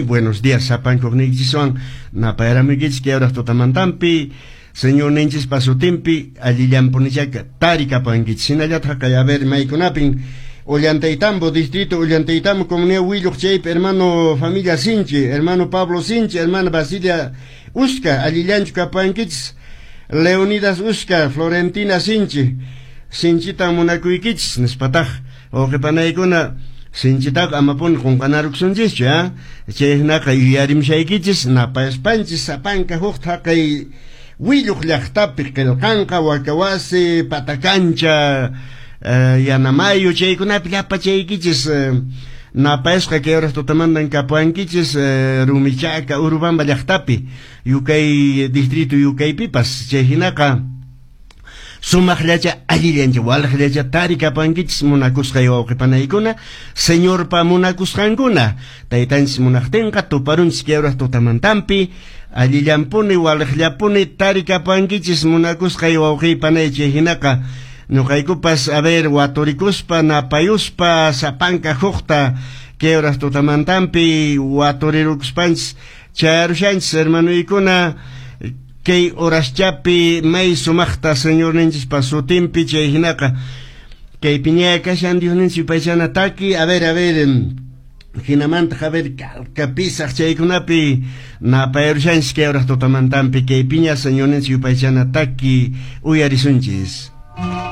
Buenos días sapankuqniykichiswan napayramuykichis kay hora tutamantampi Señorninchispa sutinpi allillanpunichaka tarikapankichis. Hinallataq kay, a ver, maykunapin Ollantaytambo, distrito Ollantaytambo, comunidad Willuq, chaypi hermano familia Sinchi, hermano Pablo Sinchi, hermana Basilia Uska, allillanchu kapankichis. Leonidas Uska, Florentina Sinchi, sinchitan munakuykichis, nispataq wawqipanaykuna sinchitaqa amapuni qunqanaruksunchischu, ¿ah? Chay hinaqa yuyarimshaykichis napayaspanchis sapanka huk thaqay Willuq llaqtapi qillqanqa Wakawasi, Patakancha, Yanamayu, chaykunapi llapa chaykichis napayasqa kay horas tutamantan kapuankichis Rumichaka, Urubamba llaqtapi, Yukay distrito Yukaypipas. Chay hinaqa sumaqllacha, allillancha, walaqllacha tarikapankichis munakusqay wawqipanaykuna, Señorpa munakusqankuna. Taytanchis munaqtinqa tuparunchis kay horas tutamantampi, allillanpuni, walaqllapuni tarikapankichis munakusqay wawqipanay. Chay hinaqa ñuqaykupas, a ver, waturikuspa, napayuspa, sapanka hukta kay horas tutamantampi waturirukuspanchis chayarushanchis, hermanuykuna, kay horaschapi may sumaqta Señorninchispa sutinpi. Chay hinaqa kay piñaya kashan Diosninchis yupaychana taki, a ver, a ver, hinamantaq, a ver, kalka pisaq chaykunapi napayarushanchis kay horas tutamantampi. Kay piña Señorninchis yupaychana taki uyarisunchis.